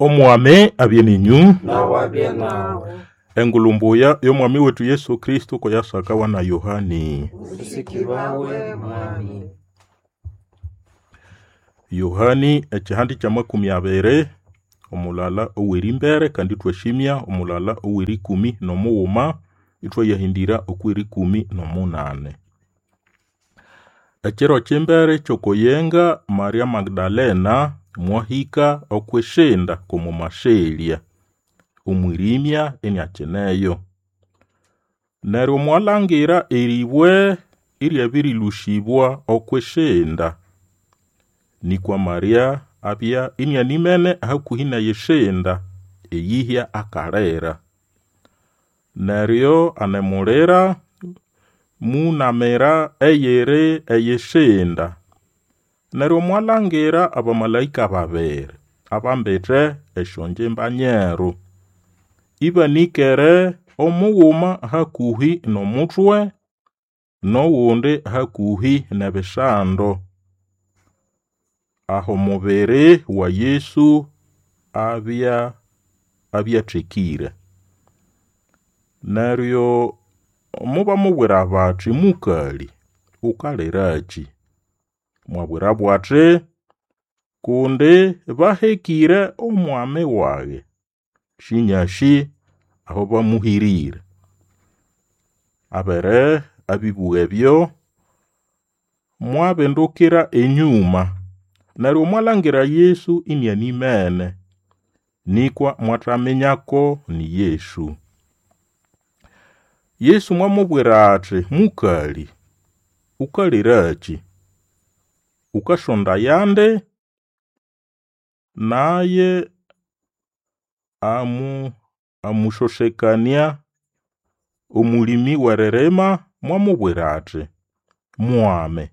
Omwami abye ninyu. Nawe abye nawe. Engulu mbuya y'omwami wetu Yesu Kristo koyasakawa na Yohani. Usikibawe mwami. Yohani ekihandi kya 20 omulala ow'erimbere kandi ithwashimya omulala ow'erikumi n'omughuma ithwayahindira okw'erikumi n'omunane. Ekiro ky'imbere ky'okoyenga Maria Magdalena mwahika okw'ishinda kw'omumaselya omwirimya iniakineyo. Neryo mwalhangira eribwe iryabirilusibwa okw'ishinda. Nikwa Maria abya inianimene hakuhi n'eyishinda eyihya akalira. Neryo anemulira munamira eyiri eyishinda. Neryo mwalhangira abamalaika babiri abambite esyongimba nyeru, ibanikere omughuma hakuhi n'omutwe n'ogundi hakuhi n'ebisando, aho omubiri wa Yesu abya abyathekĩre. Neryo mubamubwira bati, Mukali, wukaliraki? Mwabwirabo ati, Kundi bahekĩre Omwami wage, sinyasi aho bamuhĩrĩre. Abere abibugha ebyo, mwabindukira enyũma, neryo mwalhangira Yesu inianimene, nĩkwa mwathaminyako ni Yesu. Yesu mwamubwira ati, Mukali, wukaliraki? Wukasondaya nde? Naye amusosekania omũlĩmĩ w'eririma mwamubwira ati, Mwami,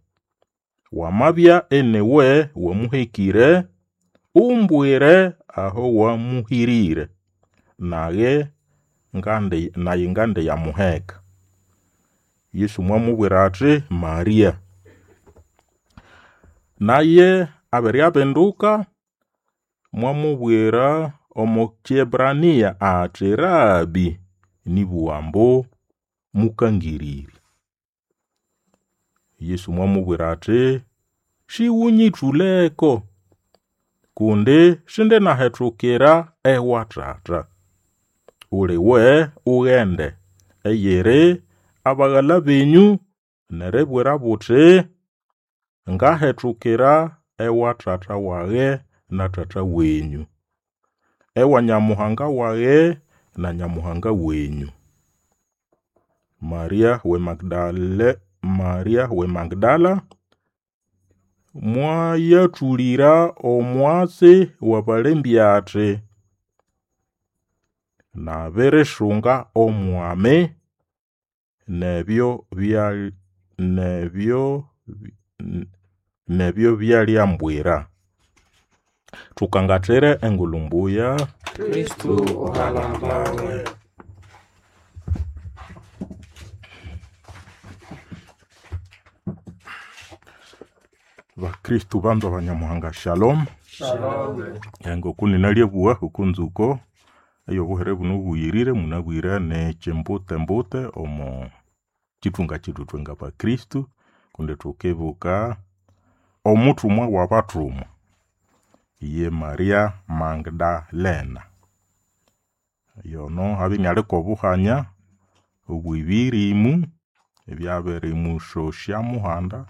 wamabya iniwe wamuhekĩre, umbwire aho wamuhĩrĩre, nage naye ngandiyamuheka. Yesu mwamubwira ati, Maria. Naye abere abinduka mwamubwira omo Kiebrania ati, Rabi, nĩbũgha ambu Mũkangĩrĩrya. Yesu mwamubwira ati, Sĩgũnyĩthũleko, kundi sindinahethukira ewa Tata. Uliwe ughende eyiri abaghala benyũ neribwirabo uti, Ngahethukira ewa Tata wage na Tata wenyũ, ewa Nyamuhanga wage na Nyamuhanga wenyũ. Maria we Magdala mwayathũlĩra omwatsi w'abalembya ati, Nabirisunga Omwami, n'ebyo byaliambwira. Thukangathire engulu mbuya. Kristo uhalambawe. Bakristo banzwa banyamuhanga shalom. Shalom. Engoku ninalyabuwa okunzuko eyobuhere buno obuyirire munabwire nekyembutembute omo kithunga kyethu ithwe ngabakristo kundi thukibuka omuthumwa w'abathumwa ye Maria Magdalena. Yono abya iniali kw'obuhanya obw'ebirimu ebyabirimusosya muhanda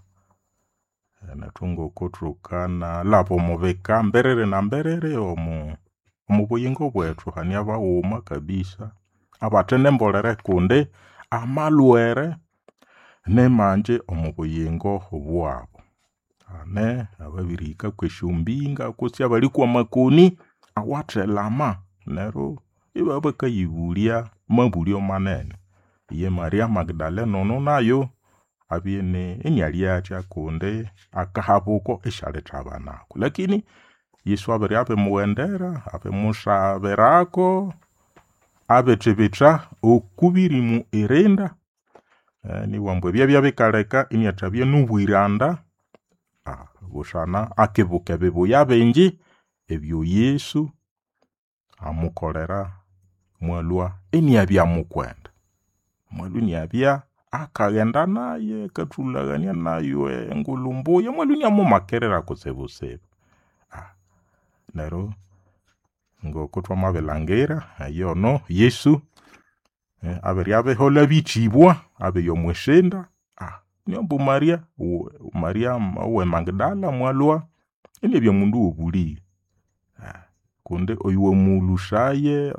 nethu ngoko thukanalhaba omo bika mberere na mberere omo buyingo bwethu hane abaghuma kabisa abathe nembolere kundi amalhwere nimangi omo buyingo bwabu. Hane ababirihika kw'esyombinga kutse abali kw'amakoni awathelama neryo ibabya bakayibulya mabulyo manene. Ye Maria Magdalena ono nayo abya inialyathya kundi akahabuko isyalithabanako. Lakini Yesu abere abirimughendera, abimusabirako, abithibitha okubirimu irinda, nibughambu ambu ebyabya bikaleka iniathabya n'obwiranda busana akibuka ebibuya bingi ebyo Yesu Amukolera mwalhwa iniabya mukwenda. Mwalhwa iniabya akaghenda nayu, akathulhaghania nayu engulhu mbuya, mwalhwa iniamumakirira kutsibutsibu. Neryo ngokuthwamabilhangira eyono Yesu abiribya abiholha bichibwa, abiya omwisinda, ambu Maria Maria owe Magdala mwalhwa inabya mundu owobulĩge kundi oyuwamulhusaye.